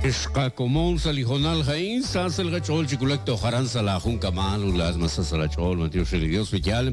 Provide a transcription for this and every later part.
Xqakomon sa' li hoonal a'in, sa sa' li qach'ool chi wulak toj aran sa' laajunkab'al ut laa'at mas sa sa' laach'ool, b'antiox re li Dios, wi yaal.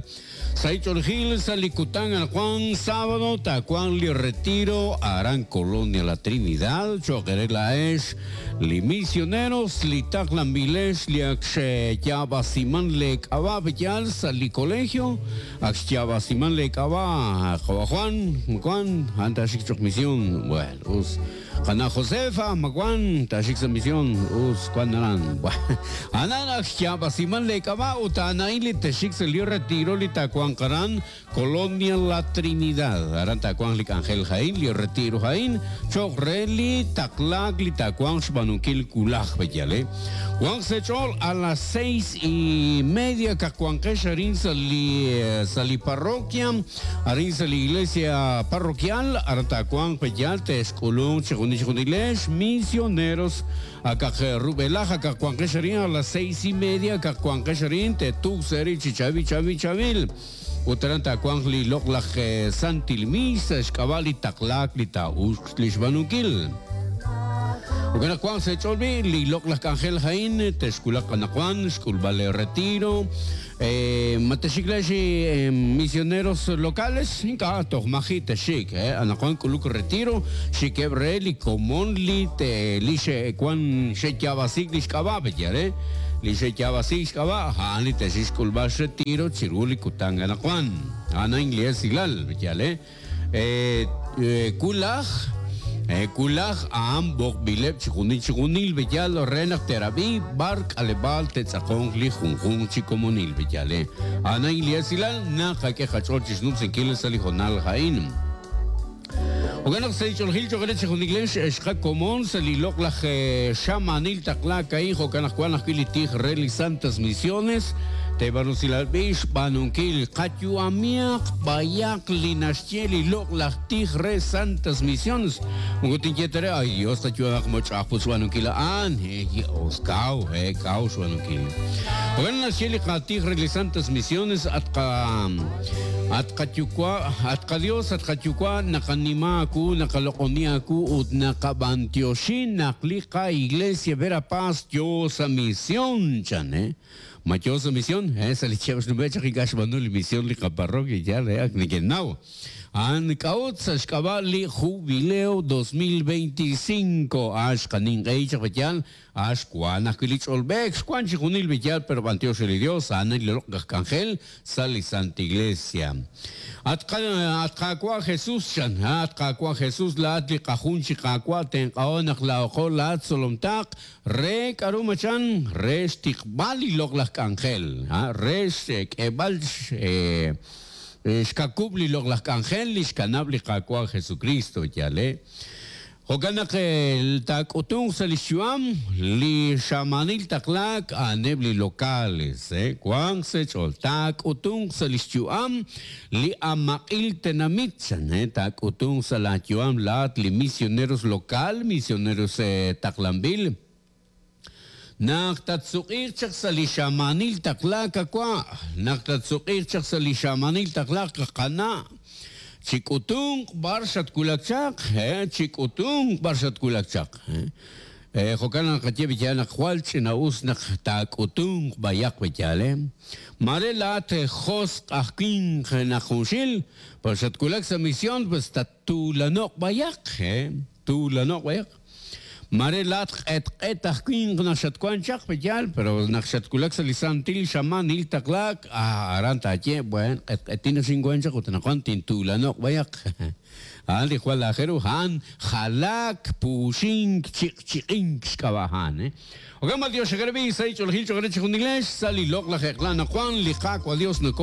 Sa' ch'oolejil sa' li kutan anaqwan sábado taawanq li retiro aran Colonia La Trinidad cho'q eere laa'ex li misioneros li taqlanb'ilex li ak xyaab'asiman leek'ab'a' wi yaal sa' li colegio ak xyaab'asiman leek'ab'a' qawa' Juan, Juan, a'an taaxik cho'q misión, bueno, us. Qana' Josefa, ma wan taaxik sa' mision, us wan aran. A'an ak xyaab'asiman lee k'ab'a' ut a'an a'in li texxik sa' li retiro li taawanq aran Colonia La Trinidad. Aran taawanq li k'anjel a'in, li retiro a'in, cho'q re li taqlaak li taawanq xb'aanunkil wulaj, b'eyal, eh. Wanq sa' eech'ool a las seis y media kaqwanqex arin sa' li sa' li parroquia. Arin sa' li iglesia parroquial, aran taawanq pe'yaal te'xk'ulunq chixjunil chixjunilex misioneros akaq rub'elaj akaq wanqex arin a las seis y media akaq wanqex arin te'tuq sa' eerib' chi chaab'il chaab'il chaab'il. Ut aran taawanq li loq'laj santil misa xk'ab'a' li taqlaak li taa'uxq li xb'aanunkil. Jo'kan naq wanq sa' eech'ool b'i' li loq'laj k'anjel a'in texwulaq anaqwan xk'ulb'al leeretiro. Ma texxik laa'ex misioneros locales? Ink'a', toj maji' texxik. Anaqwan k'uluk retiro, xikeb' re li komon li li xe'wan xe'yaab'asiik li xk'ab'a' pe'yaal re? Li xe'yaab'asiik xk'ab'a' a'an li texxik xk'ulb'al xretiro chiru li kutan anaqwan. A'an a'in li esilal, pe'yaal re? Wulaj, wulaj a'an b'oqb'ileb' chixjunil chixjunil b'eyal re naq te'rab'i b'ar k'aleb'aal te'tz'aqonq li junjunq chi komonil b'eyal. A'an a'in li esilal naqak'e qach'ool chixnumsinkil sa' li hoonal a'in. Jo'kan naq sa' li ch'oolejil cho'q re chixjunilex ex qakomon sa' li loq'laj xamaanil taqlaak a'in jo'kan naq wank ajwi' li tij re li Santas Misiones Teeb'aanu usilal b'i' xb'aanunkil qayu'amihaq b'ayaq li naxye li loq'laj tij re Santas Misiones. Moko tinye ta re, ay Dios, qayu'amaq mo ch'a'aj put xb'aanunkil a'an. He, os kaw, he, kaw xb'aanunkil. Jo'kan naxye li qatij re li Santas Misiones, at qa at qayuwa', at qaDios, at qayuwa', naqanima aawu, naqaloq'oni aawu ut naqab'antioxi naq li qa-Iglesia Verapaz yoo sa' mision, chan, he. Ma yoo sa' mision? He, sa' li chihab' xnume' chaq ink'a' xb'aanu li mision li qaparroquia, yaal re ak neke'naw. A'an k'a'ut sa' xk'ab'a' li Jubileo 2025, a'an xqaninq'ehi chaq b'eyal, a'an xwank ajwi' li ch'olb'eek, xwank chixjunil b'eyal, pero b'antiox re li Dios, a'an li loq' aj k'anjel sa' li Santa Iglesia. At at Qaawa' Jesus, chan, at Qaawa' Jesus, laa'at li qajun chi Qaawa', tenq'aho naq laa'oqo laa'at tzolomtaq, Re k'a'ru machan? Re xtiqb'al li loq'laj k'anjel, re xk'eeb'al xkakub' li loq'laj k'anjel li xkanab' li Qaawa' Jesukristo, yaal e. Jo'kan naq taak'utunq sa' lix yu'am li xamaanil taqlaak a'aneb' li locales, wanq sa' eech'ool, taak'utunq sa' lix yu'am li amaq'il tenamit, chan, taak'utunq sa' laa yu'am laa'at li misioneros local, misioneros taqlanb'il. Naq tatsuq'iiq chaq sa' li xamaanil taqlaak qawa', naq tatsuq'iiq chaq sa' li xamaanil taqlaak qana', chik'utunq b'ar xatwulak chaq, chik'utunq b'ar xatwulak chaq. Jo'kan naq naqaye b'iyal naq jwal ch'ina'us naq taak'utunq b'ayaq b'iyal. Maare laa'at josq' aj winq naq junxil, pero xatwulak sa' mision pues tattuulano'q b'ayaq, tuulano'q b'ayaq. Maare laa'at q'etq'et aj winq naq xatwank chaq b'iyal, pero naq xatwulak sa' li santil xamaanil taqlaak, aran taaye, buen, q'etq'etin naq xinwank chaq ut anaqwan tintuulano'q b'ayaq. A'an li jwal aajel ru, a'an jalaak, puuxink, chiq'chiq'ink xk'ab'a' a'an. Jo'kan b'antiox xe'qerab'i sa' li ch'oolejil choq' re chejunilex, sa' li loq'laj eq'la anaqwan, li Qaawa' Dios noko.